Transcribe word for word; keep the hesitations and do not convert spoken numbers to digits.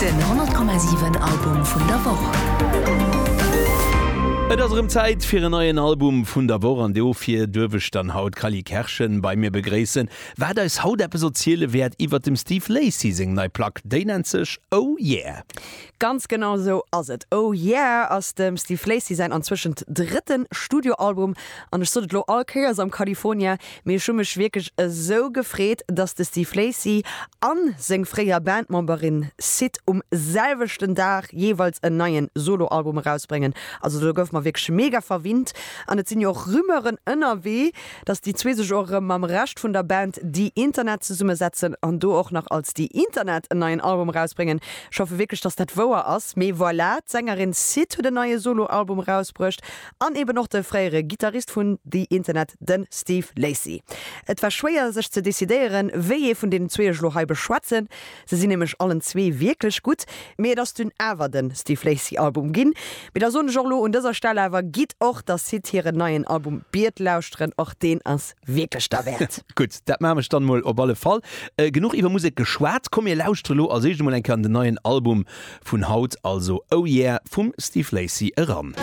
Den honnert Komma siwen Album vun der Woch. Et ass erëm Zäit fir en neien Album vun der Woch an dofir duerf ech dann haut d'Cally Kerschen bei mir begréissen, wat eis haut eppes erziele wäert iwwert dem Steve Lacy seng nei Plack. Déi nennt sech Oh Yeah. Ganz genau sou ass et. Oh Yeah ass dem Steve Lacy säin anzwëschent drëtten Studioalbum an ech sot et lo all Kéiers am California, mee ech hu mech wierklech esou gefreet, dass de Steve Lacy an seng fréier Bandmemberin Syd um selwechten Dag jeeweils en neien Soloalbum erausbréngen. Also do gouf mer wierklech mega verwinnt an et sinn jo och Rumeuren ënnerwee, dass déi zwee sech och erëm mam Rescht vun der Band The Internet zesummesetzen an do och nach als The Internet en neien Album erausbréngen. Ech hoffe wierklech, dass dat wouer ass. Mee voilà, d'Sängerin Syd huet en neie Soloalbum erausbruecht an eben och de fréiere Gittarist vun The Internet, de Steve Lacy. Et war schwéier sech ze decidéieren, wéi ee vun deenen zwee ech elo hei beschwätzen. Se sinn nämlech allen zwee wierklech gutt, mee et ass dunn awer de Steve Lacy Album ginn. Mee da soen ech och elo un dëser Stell awer, gitt och der Syd hiren neien Album Beard lauschteren, och deen ass wierklech derwäert. Gutt, dat maachen ech dann mol op alle Fall. Genuch iwwer Musek geschwat, komm mir lauschtere lo als éischt emol eng Kéier an den neien Album vun haut, also Oh Yeah vum Steve Lacy eran.